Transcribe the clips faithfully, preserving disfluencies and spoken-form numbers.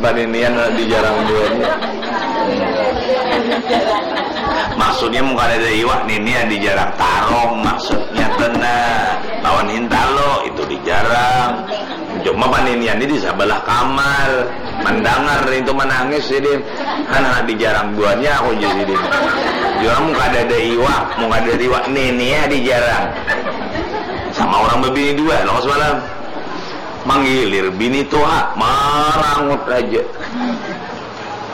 Paninian di jarang buannya. Maksudnya mun kadada iwak ninian di jarang tarong, maksudnya tu nah, lawan hintalo itu di jarang. Cuma paninian ni di sabalah kamar, mandangar itu manangis sidin. Han, handak di jarang buannya aku ja sidin. Jua mun kadada iwak, mun kadada iwak ninian di jarang. Sama urang babini dua, lawas malam. Manggilir bini tuha, marangut haja.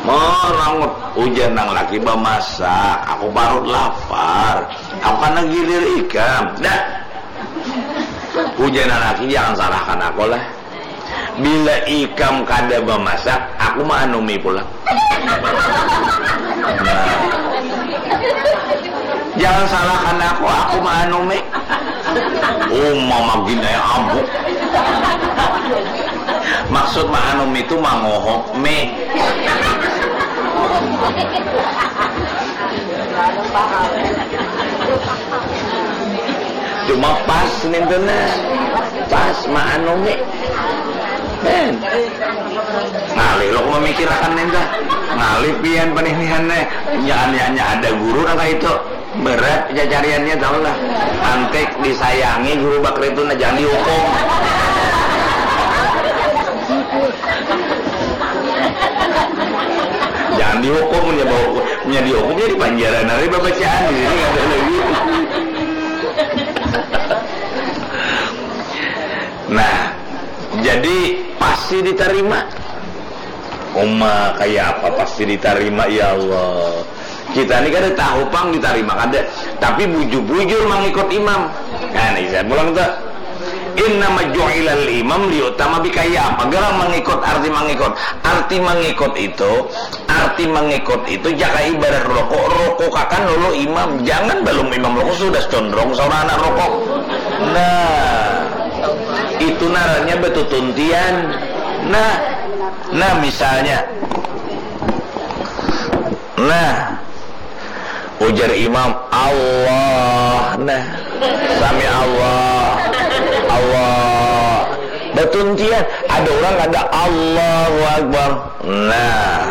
Marangut, ujar nang laki bamasak, aku parut lapar. Aku kada gilir ikam. Dah. Ujar nang laki, jangan salahkan aku lah. Bila ikam kada bamasak, aku maanumi pulang. Nah. Jangan salahkan aku, aku maanumi. Uma magin ai abuk. Maksud maanumi tu mangohok mi. Cuma pas nintu nah. Pas maanumi. Ben. Ngalih lo mamikirakan nintu. Ngalih pian paninihan ne. Jangan hanya ada guru nang kaitu. Berat cacariannya, tahu lah. Antek disayangi guru bakri tu, nah, jangan dihukum. Jangan dihukum, punya bau, punya dihukumnya di panjara, nari babacaan di sini ada lagi. Nah, jadi pasti ditarima. Uma, kaya apa pasti ditarima, ya Allah? Kita ni kada tahu pang ditarima kada, tapi bujur-bujur mangikut imam. Nah, nah, saya pulang tu. Innama ju'ilal imam liyu'tama bi, kaya apa garang mangikut, arti mangikut? Arti mangikut itu, arti mangikut itu jaka ibarat rokok, rokokakan dulu imam. Jangan balum imam rokok sudah condrong saurang anak rokok. Nah, itu ngarannya batutuntian. Nah, nah, misalnya, nah, ujar imam, Allah. Nah, sami Allah, Allah. Batuntian. Ada urang kada, Allahu Akbar. Nah,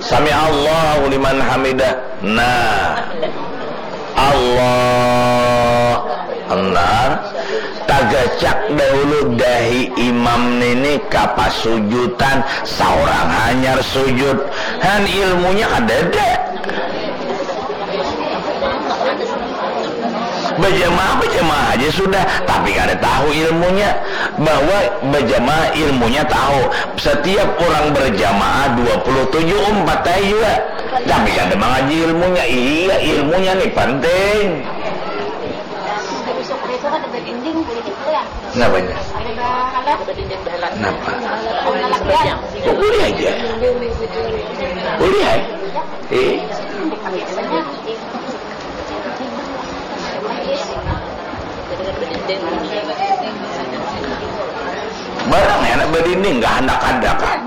sami Allahu liman hamidah. Nah, Allah. Nah, tagacak dahulu dahi imam nini ka pasujutan, saurang hanyar sujud. Han, ilmunya kadada. Bajamaah, bajamaah aja sudah, tapi kada tahu ilmunya. Bahwa bajamaah ilmunya tahu. Setiap orang berjamaah dua puluh tujuh umat ai jua. Tapi kada mangaji ilmunya. Iya, ilmunya ni penting. Di besok hari itu kada badinding, boleh gitu ya? Kenapanya? Ada bahalat. Kenapa? Ada latihan. Oh, boleh aja. Boleh ai. Eh. Biasanya. Barang ya, anak badinding, nggak handak ada kan?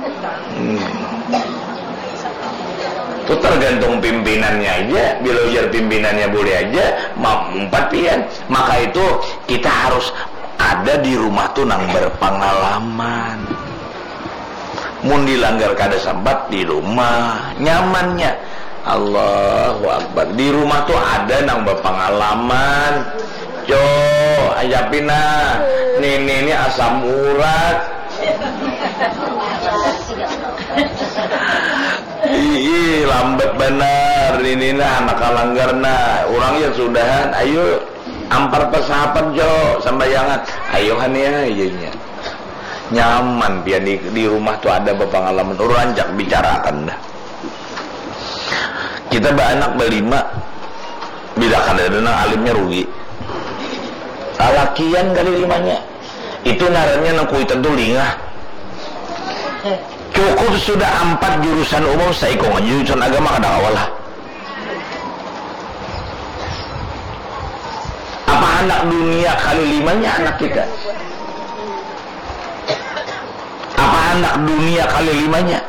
Hmm. Itu tergantung pimpinannya aja. Bila ujar pimpinannya boleh aja, ma-, umpat pian. Maka itu kita harus ada di rumah tuh nang berpengalaman. Mun dilanggar kada sampat di rumah, nyamannya. Allahu Akbar. Di rumah tuh ada nang berpengalaman. Jo, ajapin nah. Nini ini asam urat. Ih, lambat banar. Nini nah, anak kalanggar nah. Urang ya sudahan. Ayo, ampar pasahapan, Jo, sambayangan. Ayo, han ya, iyanya. Nyaman pian di, di rumah tuh ada bapangalaman. Urang rancak bicarakan dah. Kita baanak balima, bila kada ada nang alimnya rugi. Lalakian kali limanya. Itu ngarannya nang kuitan tuh lingah. Cukup sudah ampat jurusan umum, saikung aja jurusan agama kada kawa lah. Apa handak dunia kali limanya anak kita? Apa handak dunia kali limanya?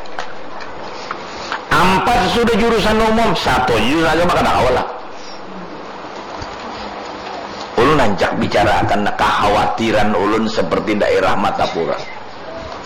Ampat sudah jurusan umum, satu aja jurusan agama kada kawa lah. Ulun rancak bicarakan kakhawatiran ulun seperti daerah Martapura.